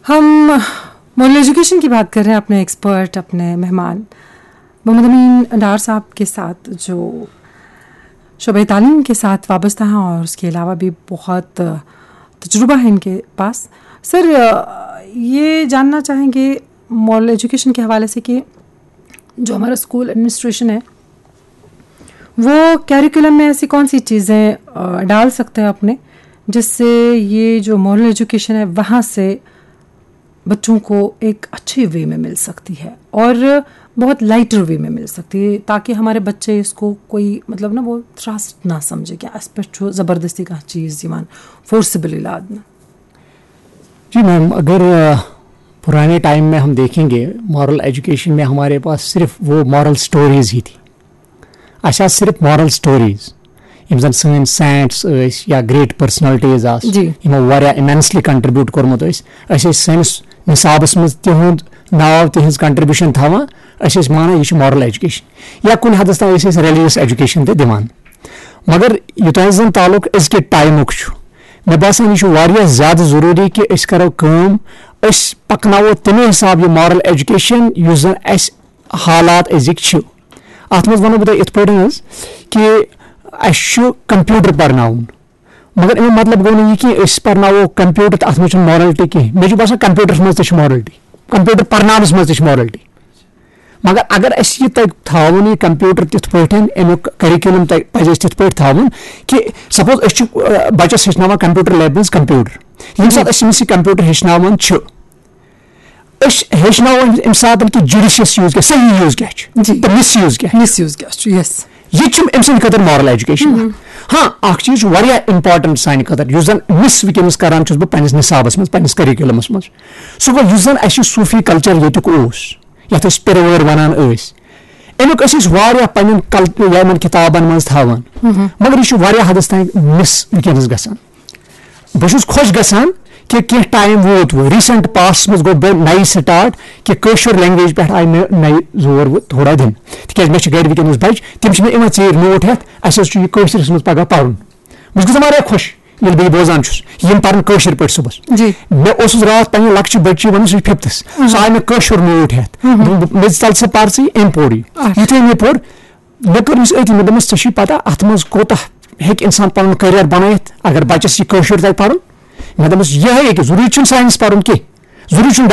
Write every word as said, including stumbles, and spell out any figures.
ہم moral education کی بات کر رہے ہیں اپنے ایکسپرٹ، اپنے مہمان محمد امین ڈار صاحب کے ساتھ، جو شعبۂ تعلیم کے ساتھ وابستہ ہیں اور اس کے علاوہ بھی بہت تجربہ ہے ان کے پاس۔ سر، یہ جاننا چاہیں گے مورل ایجوکیشن کے حوالے سے کہ جو ہمارا اسکول ایڈمنسٹریشن ہے، وہ کریکولم میں ایسی کون سی چیزیں ڈال سکتے ہیں اپنے، جس سے یہ جو مورل ایجوکیشن ہے وہاں سے بچوں کو ایک اچھے وے میں مل سکتی ہے اور بہت لائٹر وے میں مل سکتی ہے، تاکہ ہمارے بچے اس کو کوئی، مطلب نا، وہ تھرسٹ نہ سمجھے کہ اس پہ چھو زبردستی کا چیز یوان فورسبلی لادنا۔ جی میم، اگر پرانے ٹائم میں ہم دیکھیں گے، مورل ایجوکیشن میں ہمارے پاس صرف وہ مورل سٹوریز ہی تھی۔ اَسہِ آسہٕ صرف مورل سٹوریز، یِم زَن سٲنۍ سینٹس ٲسۍ یا گریٹ پرسنلٹیز آسہٕ، جی۔ یِمو واریاہ امینسلی کنٹریبیوٹ کوٚرمُت ٲسۍ۔ أسۍ ٲسۍ سٲنِس نصابس منٛز تِہُنٛد ناو، تِہنٛز کنٹریبیوشن تھاوان۔ أسۍ ٲسۍ مانان یہِ چھِ مورل ایجوکیشن، یا کُنہِ حدس تام ٲسۍ أسۍ ریلیجس ایجوکیشن تہِ دِوان۔ مگر یوٚتام زَن تعلق أزکہِ ٹایمُک چھُ، مےٚ باسان یہِ چھُ واریاہ زیادٕ ضروٗری کہِ أسۍ کرو کٲم، أسۍ پکناوو تَمے حساب یہِ مورل ایجوکیشن یُس زَن اَسہِ حالات أزِکۍ چھِ۔ اَتھ منٛز وَنو بہٕ تۄہہِ یِتھ پٲٹھۍ حظ کہِ اَسہِ چھُ کمپیوٹر پرناوُن، مگر اَمیُک مطلب گوٚو نہٕ یہِ کہِ أسۍ پرناوو کمپیوٹر تہٕ اَتھ منٛز چھُنہٕ مورلٹی کینٛہہ۔ مےٚ چھُ باسان کمپیوٹرس منٛز تہِ چھِ مورلٹی، کمپیوٹر پرناونس منٛز تہِ چھِ مورلٹی۔ مگر اگر اَسہِ یہِ تَگہِ تھاوُن، یہِ کمپیوٹر تِتھ پٲٹھۍ، اَمیُک کریکولم تَگہِ، پَزِ اَسہِ تِتھ پٲٹھۍ تھاوُن کہِ سپوز أسۍ چھِ، آ، بَچَس ہیٚچھناوان کمپیوٹر لیبہِ منٛز کمپیوٹر۔ ییٚمہِ ساتہٕ أسۍ أمِس یہِ کمپیوٹر ہیٚچھناوان چھِ، أسۍ ہیٚچھناوان اَمہِ ساتہٕ کہِ جُڈِشس یوٗز کیٛاہ، صحیح یوٗز کیٛاہ چھُ، جی۔ تہٕ مِس یوٗز کیٛاہ۔ مِس یوٗز کیٛاہ چھُ؟ یس۔ یہِ تہِ چھُ أمۍ سٕنٛدِ خٲطرٕ مورل ایجوکیشن۔ ہاں، اکھ چیٖز چھُ واریاہ امپورٹنٹ سانہِ خٲطرٕ، یُس زن مِس وٕنکیٚنس کران چھُس بہٕ پننِس نصابس منٛز، پننِس کریکولمس منٛز۔ سُہ گوٚو یُس زن اَسہِ یہِ صوٗفی کلچر ییٚتیُک اوس، یتھ أسۍ پِرٕ وٲرۍ ونان ٲسۍ، امیُک ٲسۍ أسۍ واریاہ پننٮ۪ن کل-، یِمن کتابن منٛز تھاوان۔ مگر یہِ چھُ واریاہ حدس تام مِس وٕنکیٚنس گژھان۔ بہٕ چھُس خۄش گژھان کہِ کینٛہہ ٹایم ووت وۄنۍ، ریٖسنٹ پاسٹس منٛز گوٚو بیٚیہِ نَیہِ سٹارٹ کہِ کٲشُر لینگویج پٮ۪ٹھ آیہِ مےٚ نَیہِ زور وۄنۍ تھوڑا دِنہٕ، تِکیازِ مےٚ چھِ گرِ وٕنکیٚنس بچہِ، تِم چھِ مےٚ یِوان ژیٖرۍ نوٹ ہٮ۪تھ، اَسہِ حظ چھُ یہِ کٲشرِس منٛز پگاہ پرُن۔ بہٕ چھُس گژھان واریاہ خۄش ییٚلہِ بہٕ یہِ بوزان چھُس، یِم پرن کٲشِر پٲٹھۍ صُبحس۔ جی۔ مےٚ اوسُس راتھ پننہِ لۄکچہِ بچی ونان، سُہ چھُ ففتھس، سُہ آیہِ مےٚ کٲشُر نوٹ ہٮ۪تھ۔ دوٚپُن، مےٚ ژل ژٕ پر ژٕ یہِ أمۍ پوری۔ اچھا۔ یُتھُے مےٚ پوٚر، مےٚ کٔر أمِس أتی، مےٚ دوٚپمَس، "ژےٚ چھُے پَتہ اَتھ منٛز کوٗتاہ ہیٚکہِ اِنسان پَنُن کیریَر بَنٲیِتھ، اگر بَچَس یہِ کٲشُر تَگہِ پَرُن؟" مےٚ دوٚپمَس، "یِہوٚے ہیٚکہِ، ضروٗری چھُنہٕ ساینَس پَرُن کینٛہہ، ضروٗری چھُنہٕ